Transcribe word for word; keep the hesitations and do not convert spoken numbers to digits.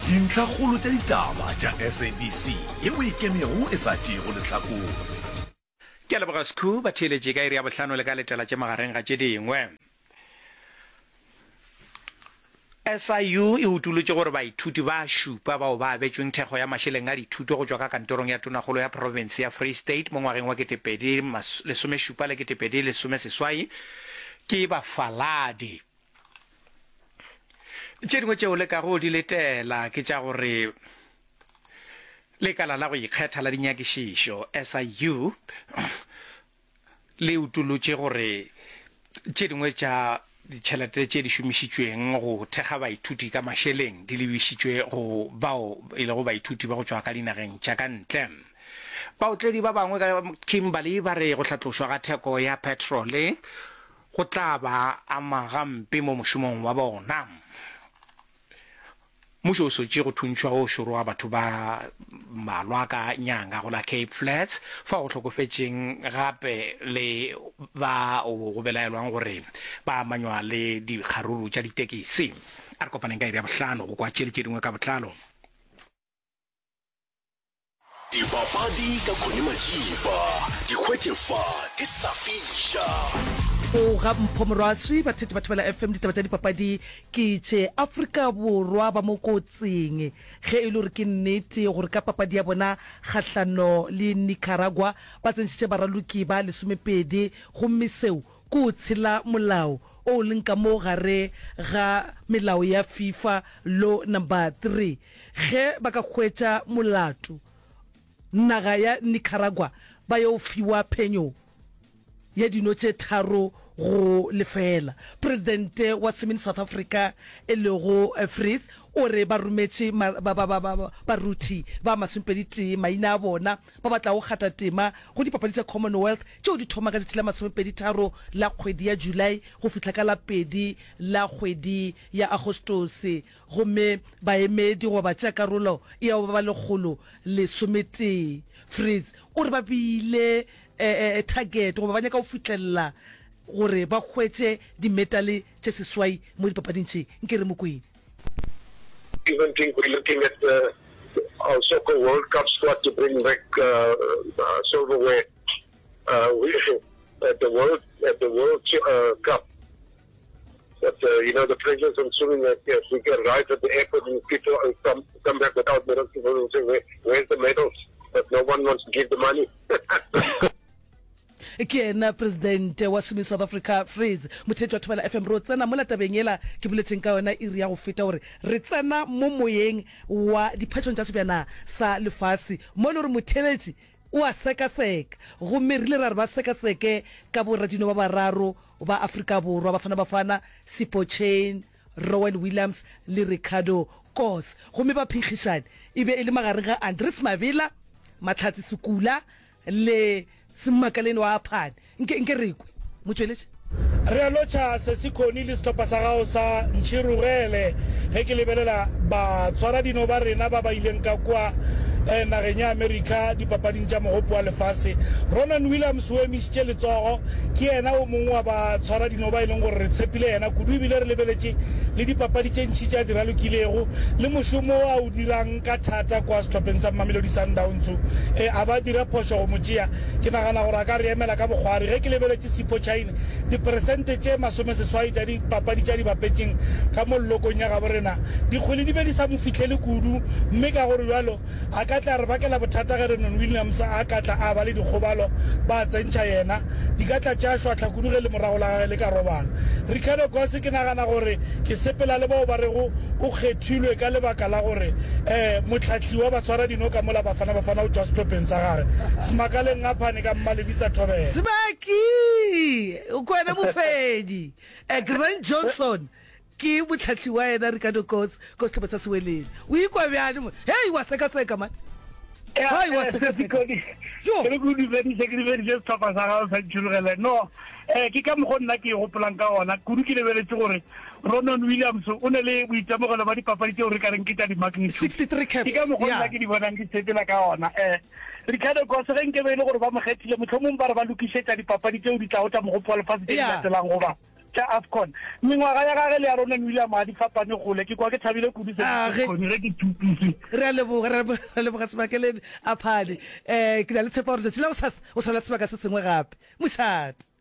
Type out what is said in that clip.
Dintlhakgolo tša ditaba tša S A B C yeo e ikemego e sa tšeego lehlakore. Ke a leboga Skhoo, ba theeletše ka iri ya bohlano le ka letela tše magareng ga tše dingwe. S I U e utolotše gore baithuti ba šupa bao ba abetšweng thekgo ya mašeleng a dithuto go tšwa ka kantorong ya Tonakgolo ya profense ya Free State mo ngwageng wa ketepedi lesomešupa le ketepedi lesomeseswai ke bafaladi. Tše dingwe tšeo le kago di letela ke tša gore Lekala la go Ikgetha la Dinyakišišo, S I U, le utolotše gore tše dingwe tša ditšhelete tše di šomišitšweng go thekga baithuti ka mašeleng di lebišitšwe go bao e lego baithuti ba go tšwa ka dinageng tša ka ntle. Baotledi ba bangwe ka Kimberley ba re go hlatlošwa ga theko ya petrole go tla ba ama gampe mo mošomong wa bona. Mmušo o sotše go thuntšhwa o šoro ga batho ba mmalwa ka nyanga go la Cape Flats, fao go hlokofetšeng gape le ba go belaelwang gore ba amanywa le dikgaruru tša ditekisi. A re kopaneng ka iri ya bohlano go kwa tše le tše dingwe ka botlalo. Dipapadi ka Connie Majiba, di hwetše fa di sa fiša. O ga Mpho Morwaswi, batheetši ba Thobela F M, ditaba tša dipapadi ke tše. Afrika Borwa ba mo kotsing ge e le gore ke nnete gore ka papadi ya bona kgahlano le Nicaragua ba tsentšhitše baraloki ba lesomepedi gomme seo ke go tshela molao o leng ka mo gare ga melao ya FIFA Law Number Three. Ge ba ka hwetša molato, naga ya Nicaragua ba yo fiwa phenyo ya dino tše tharo go lefeela. Presidente wa Swimming South Africa e lego Vries o re ba rometše baruthi ba masomepedi tee maina a bona ba ba tlago kgatha tema go dipapadi tša Commonwealth tšeo di thoma ka tšatši la masomepedi tharo la kgwedi ya July go fihla ka la pedi la kgwedi ya Agostose gomme baemedi goba batšeakarolo e ya go ba ba lekgolo lesometee. Vries o re ba beile target goba ba nyaka go fihlelela gore ba hwetše dimetale tše seswai mo dipapading tše. Nke re mo kweng. Even think we're looking at the our soccer World Cup squad to bring back uh, uh, silverware uh, we, at the World at the World uh, Cup. But uh, you know the pressures on swimming. That if we can arrive at the airport and people come come back without medals, people will say, Where, "Where's the medals?" But no one wants to give the money. Ke yena Presidente wa Swimming South Africa, Vries. Motheetši wa Thobela F M, ro tsena mola tabeng yela ke boletšeng ka yona iri ya go feta gore re tsena mo moyeng wa diphetšong tša sebjana sa lefase mo e le gore motheeletši o a sekaseka. Gomme re ile ra re ba sekaseke ka boradino ba bararo ba Afrika Borwa, Bafana Bafana, Sipho Chaine, Rowan Williams le Ricardo Koth. Gomme baphenkgišani e be e le magareng ga Andries Mabela, Mahlatse Sekula le Semmakaleni wa Aphane. Nke, nke re kwe. Motšweletši. Re a lotšha Sesi Connie le sehlopha sa gago sa Ntšhirogele. Ge ke lebelela batshwaradino ba rena ba ba ileng ka kua nageng ya Amerika dipapading tša Mogopo wa Lefase, Ronan Williams o emišitše letsogo. Ke yena o mongwe wa batshwaradino ba e leng gore re tshepile yena kudu ebile re lebeletše le dipapadi tše ntši tše a di ralokilego le mošomo wo a o dirang ka thata kua sehlopheng sa Mamelodi Sundowns. A ba dira phošo go mo tšea? Ke nagana gore a ka re emela ka bokgwari. Ge ke lebeletše Sipho Chaine, diperesente tše masomeseswai tša dipapadi tše a di bapetšeng ka mo llokong ya gabo rena, dikgwele di be di sa mo fihlele kudu mme ka gore bjalo a ka tla re bakela bothata ge Renon Williams a ka tla a ba le dikgobalo ba tsentšha yena, di ka tla tša šwahla kudu ge lemorago la gage le ka robala. Ricardo Goss ke nagana gore ke sepela le bao ba rego o kgethilwe ka lebaka la gore mohlahli wa batshwaradino ka mola Bafana Bafana o tšwa sehlopheng sa gage. Semakaleng Ngaphane ka Mmalebitsa Thobela. Sebaki! O kwena mofenyi. Grant Johnson ke mohlahli wa yena Ricardo Goss ko sehlopha sa Sewelele. O ikwa bjang mo? Hei, wa sekaseka man. Hei, wa sekaseka. Yo. Ke re ke o dumedise, ke dumedise sehlopha sa gago sa Ntšhirogele. No, eh, ke ka mokgo nna ke e gopolang ka gona. Kudu ke lebeletše gore Ronan Williams o ne le boitemogelo ba dipapadi tšeo re ka reng ke tša di-magnitude. sixty-three caps, Ke ka mokgo nna yeah. ke di bonang di sepela ka gona. Eh, Ricardo Goss ge nke be e le gore ba mo kgethile, mohlomong ba re ba lokišetša dipapadi tšeo di tlago tša Mogopo wa Lefase tše di Yeah. latelang goba tša AFCON. Mengwaga ya gage le ya Ronan William ga di fapane kgole. Ke kwa ke thabile kudu A Sesi ge. Khoni ge ke thupise. Re a leboga, re a leboga Sebakeleng a Phane. Um ke na le tshepo ya gore letšatši la gosasa o sa na le sebaka se sengwe gape. Mošate.